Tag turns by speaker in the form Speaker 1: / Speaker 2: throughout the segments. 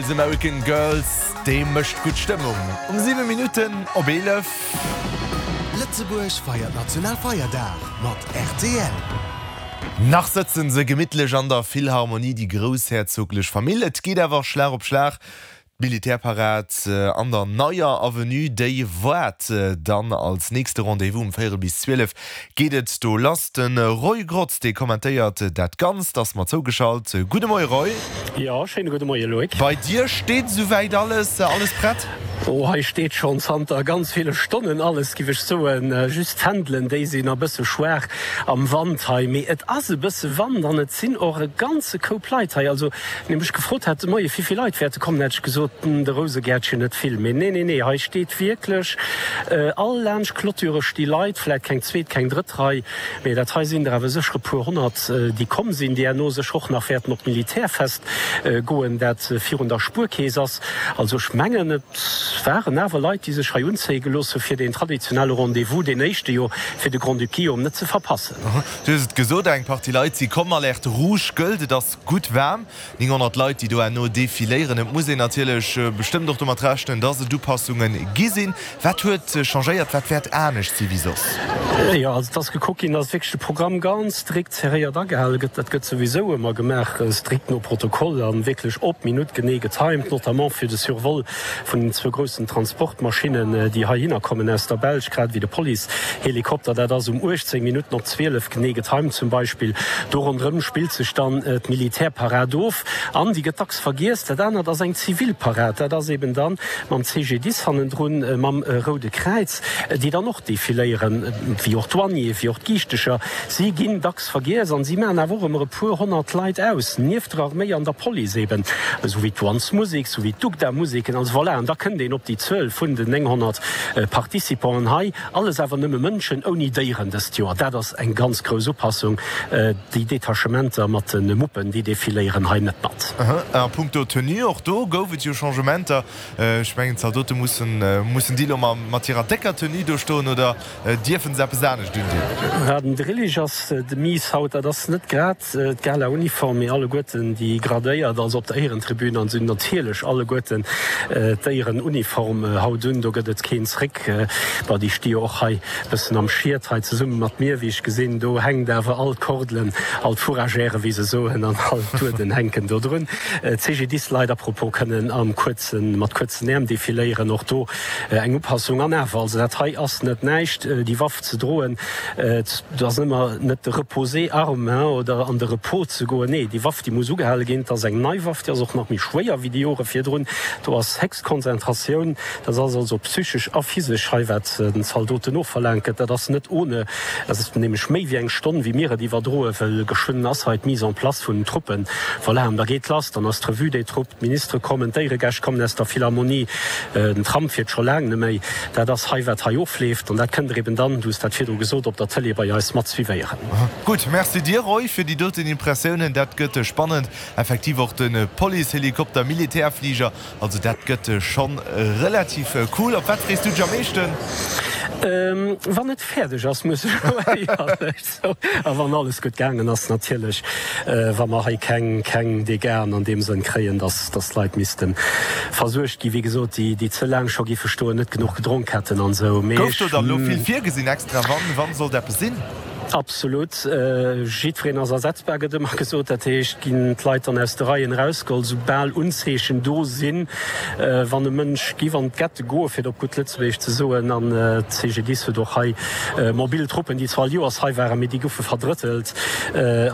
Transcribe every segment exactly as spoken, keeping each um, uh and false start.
Speaker 1: Styles, American Girls, dee mécht gutt Stëmmung. Um siwe Minutten op eelef.
Speaker 2: Lëtzebuerg feiert Nationalfeierdag mat rtl.
Speaker 1: Nach sëtzen se gemittlech an der Philharmonie, déi groussherzoglech Famill. Et geet awer Schlag op Schlag. D'Militärparad an der Neier Avenue, déi waart dann als nächste Rendez-vous. Um véierel bis zwielef geet et do lass. De Roy Grotz, dee kommentéiert dat Ganzt, ass mer zougeschalt. Gudde Moie Roy.
Speaker 3: Jo, schéine gudde Moie Loïc.
Speaker 1: Bei dir steet esouwäit alles, alles prett?
Speaker 3: Oh, hei steet schonn zanter ganz ville Stonnen alles, giff ech soen. Just d'Fändelen, déi sinn a bësse schwaach am Wand hei. Mee et ass e bësse Wand an et sinn och e ganze Koup Leit hei. Also, wann ee mech gefrot hätt de Moie wéi vill Leit wäerte kommen, hätt ech gesot, de Rousegäertchen net vill. Mee nee, nee, nee, hei steet wierklech all laanscht d'Clôture sti Leit, vläit keng zweet, keng drëtt Rei, mee dat hei sinn der awer sécher e puer honnert, déi komm sinn, déi herno sécher och nach wäerten op d'Militärfest goen, dat virun der Spuerkeess ass. Also ech mengen, et waren awer Leit, déi sech hei unzéie gelooss hu fir deen traditionelle Rendez-vous, deen éischte jo fir de Grand-Duc Guillaume, net ze verpassen.
Speaker 1: Du hues et gesot, eng Partie Leit si komm. Alerte rouge gëllt, et ass gutt waarm. nénghonnert Leit, déi do herno defiléieren. Et muss een natierlech bestëmmt och domat rechnen, dass et Upassunge gi sinn. Wat huet changéiert? Wat wäert anescht si wéi soss?
Speaker 3: Jo, also et ass gekuckt ginn, dass wierklech de Programm ganz strikt serréiert agehale gëtt. Dat gëtt souwisou ëmmer gemaach, strikt no Protokoll a wierklech op d'Minutt genee getimed, notamment fir de Survol vun den zwou groussen Transportmaschinnen, déi heihinner kommen aus der Belsch, grad ewéi de Policehelikopter. Dat ass um uechtzéng Minutten op zwielef genee getimed zum Beispill. Do ronderëm spillt sech dann d'Militärparad of an déi gëtt dacks vergiess. Dat anert ass eng Zivilparad, dat ass eben dann mam C G D I S hannendrun, mam Roude Kräiz, déi dann och defiléieren, wéi och d'Douanier, wéi och d'Giichtecher. Si ginn dacks vergiess an si maachen awer och ëmmer e puer honnert Leit aus, nieft der Arméi an der Police eben, esou wéi d'Douanesmusek, esou wéi d'Ugda-Museken. Also voilà, an da kënnt een op déi Zuel vun den nénghonnert Participanten hei. Alles awer nëmme Mënschen, ouni Déieren dëst Joer. Dat ass eng ganz grouss Upassung. Déi Detachementer mat de Muppen, déi defiléieren hei net mat.
Speaker 1: A punkto Tenue, och do gouf et jo Changementer. Ech mengen, d'Zaldote mussen, mussen déi elo mat hirer décker Tenue do stoen oder dierfe se eppes anescht undinn?
Speaker 3: Den Drillich ass de Miis haut, dat ass net grad d'Gala-Uniform, mee alleguerten déi Gradéiert, also op der Éierentribün, an se hunn natierlech alleguerten d'Éierenuniform haut un. Do gëtt et keen Zréck. Bon, déi sti jo och hei bëssen am Schiet hei zesumme mat mir, wéi ech gesinn. Do hänkt awer all d'Kordelen, all d'Fourragèren, wéi se soen, an all d'Uerden hänken do drun. D'C G D I S-Leit, à propos, kënnen am kuerzen, mat kuerzen Äerm defiléieren. Och do eng Upassung. An awer, also dat hei ass net näischt, déi Waff ze droen. Et ass ëmmer net de Reposer arme oder an de Repos ze goen. Nee, déi Waff, déi muss ugehale ginn. Et ass eng nei Waff, déi ass och nach méi schwéier wéi déi Jore virdrun. Do ass héchst Konzentratioun. Dat ass also psychesch a physesch hei, wat den Zaldoten ofverlaangt gëtt. Dat ass net ohne. Dat ass nämlech méi wéi eng Stonn, wéi mir et iwwerdroen, well geschwënn ass hei d'Mise en place vun den Truppen. Voilà, an da geet lass. Dann ass d'Revue des troupes, d'Ministere kommen, d'Éieregäscht kommen aus der Philharmonie, den Tram fiert scho laang net méi. Dat ass hei, wat hei ofleeft. An dat kënnt Der eben dann, du hues dat virdru gesot, op der Tëlee bei eis mat suivéieren.
Speaker 1: Gutt, merci dir, Roy, fir déi doten Impressiounen. Dat gëtt spannend. Effektiv och de Policehelikopter, Militärfliger, also dat gëtt schonn relativ cool. Op wat frees du dech am meeschten?
Speaker 3: Wann et fäerdeg ass, muss ech elo éierlech soen. A wann alles gutt gaangen ass natierlech, wa mer hei keng keng Dégâten an deem Sënn kréien, dass dass d'Leit misste versuergt ginn, wéi gesot, déi déi ze laang scho giffe stoen, net genuch gedronk hätten an esou. Mee
Speaker 1: Gouf
Speaker 3: ech.
Speaker 1: do dann elo vill virgesinn extra? Wann wann sollt eppes sinn?
Speaker 3: Absolut. Jiddwereen ass ersetzbar, gëtt ëmmer gesot. Dat heescht, ginn d'Leit dann aus de Reien erausgeholl, soubal Unzeechen do sinn, wann e Mënsch giff an d'Gette goen, fir et op gutt Lëtzebuergesch ze soen. An d'C G D I S huet och hei mobil Truppen, déi zwar all Joers hei waren, mee déi goufe verdrëttelt,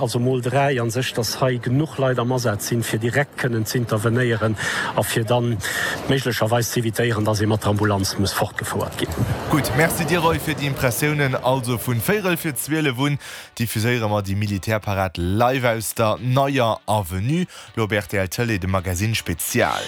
Speaker 3: also mol dräi a sech, dass hei genuch Leit am Asaz sinn, fir direkt kënnen z'intervenéieren a fir dann méiglecherweis z'evitéieren, dass ee mat der Ambulanz muss fortgefouert ginn.
Speaker 1: Gutt, Merci dir Roy fir déi Impressiounen. Also vun véierel vir zwielef un diffuséiere mer déi Militärparad live aus der Neier Avenue. Lo op R T L Tëlee de Magazine Spezial.